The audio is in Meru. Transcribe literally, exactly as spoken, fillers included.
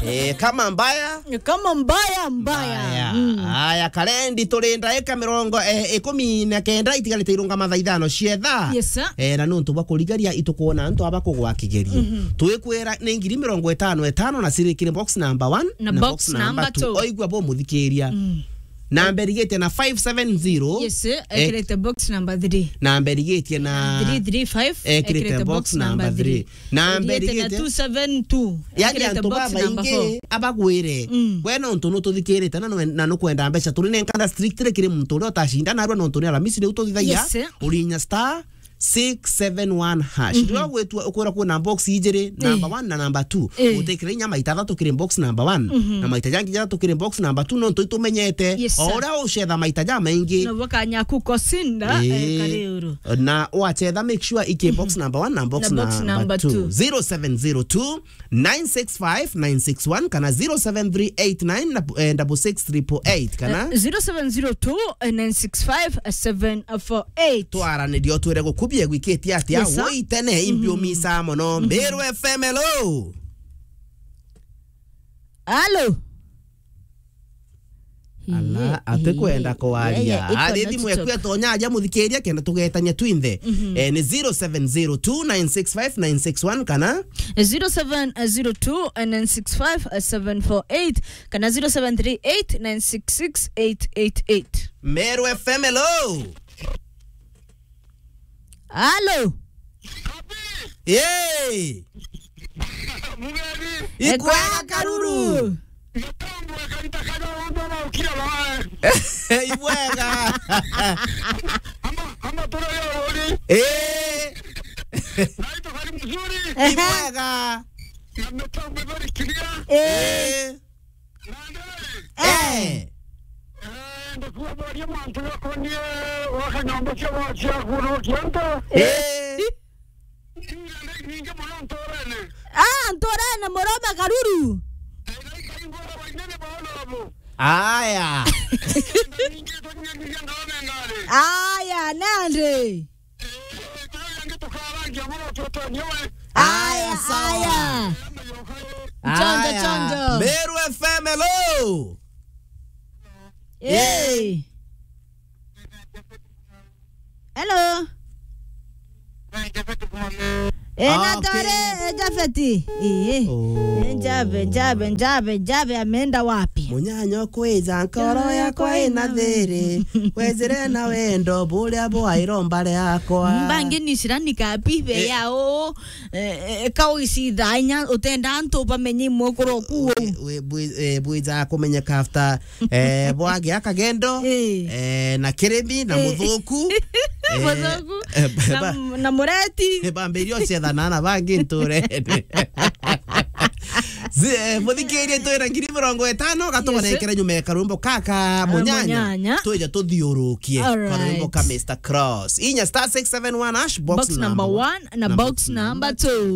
Eh, kama mbaya. Kama mbaya, mbaya. Mbaya. Mm. Aya, karendi turi ndaika mirongo, eh, ikumi na kenda itigarite irungama thaa ithano cia thaa. Yes, sir. Eh, na nuntu bwa kurigaria itukwona antu aba kugwa kigerio. Mhm. Twikwira ni ngiri mirongo itano itano na cirikire box number one na box number two. Oigua bo muthikiria. Mm. Namba irigitie na five seven zero. Yes, sir. Eh, ekirite box number three. Namba irigitie na three three five, ekirite box number three. Namba irigitie na irigitie two seven two. Yani ekirite antu box number four. Babaingi abagwire. Mm. We nontu nututhikirite na nwe-, na nukwenda mbeca, turi nenkana strictly kiri muntu uria utacinda narua nontu ni Aramisi riu tuthithagia. Yes, sir. Urinya star six seven one hash. Mhm. Riria ugwitua ukwira kwina box ijiri, eh, number one na number two. Eh. Utikire inya maita jathatu kiri box number one, mhm, na maita jangi jathatu kiri box number two, nontu itumenyete. Yes, sir. O uria ucetha maita jamaingi, no bwa kanya ku kosinda, eh, eh, kari uru. Na wacetha, make sure iki box, mhm, number one na box number two. Na box number two. Zero seven zero two, nine six five nine six one kana zero seven three eight nine double six triple eight kana, eh, zero seven zero two nine six five seven four eight. Twaranirie utwire gukubie gwikitie atia. Yes, sir. Woi tene, imbi, mhm, umisa mono. Mhm. Meru F M, hello. Hello. Ala, atikwenda kwaria. Ari thimu eku etonya aja muthikiria kenda tugetania twinthe. Mhm. Eh, ni zero seven zero two nine six five nine six one kana zero seven zero two nine six five seven four eight kana zero seven three eight nine six six eight eight eight. Meru F M, hello. Halo. Yee. Mugeni. Ikwega karuru. Mutambwe karita kaja wonde na ukira bae. Ibwega. Ama, ama tore yo uri. Eh. Naitwa kari mzuri. Ibwega. Na mutambwe very clear. Eh. Eh. Eh. Eh, ndikubaria mantu gakonie wa kanyomba cia gwa-, cia kurukia nto. Eh. Ningi mono nturene. Ah, nturene, murome karuru. Eh, na ikaingura bainene ba honorable. Aya. Ningi tunyanyithia ngarone ngari. Aya, nandi. Aya, sawa. Aya. Chonjo, chonjo. Meru F M, hello. Hey. Hello. Eh, na tore, eh, Jafeti. Eh. Oh. Eh, Jabe, Jabe, Jabe, Jabe ameenda wapi? Munyanya kwija nkoro yakwa ina thiri. Wejire na wendo buria bwa iromba riakwa. Mbangi ni shirani kapi be, eh, yao. Eh, eh, ka ugicitha inya utenda antu bamenye imwe kuro ku. We, we, bwi-, eh, bwija kumenyeka after, eh, bwagia kagendo, eh, eh, na kirimi, na, eh, muthuku. Eh, muthuku, eh, ba-, na, ba-, na mureti. Eh, bambiria ucethana na bangi nturene. Zi-, eh, muthikirie twina ngiri mirongo itano, gatugonekere nyuma ya karwimbo kaka, ah, Munyanya. Munyanya. Twija tuthiurukie. All right. Karwimbo ka Mister Cross. Inya star six seven one hash, box number one na box number two.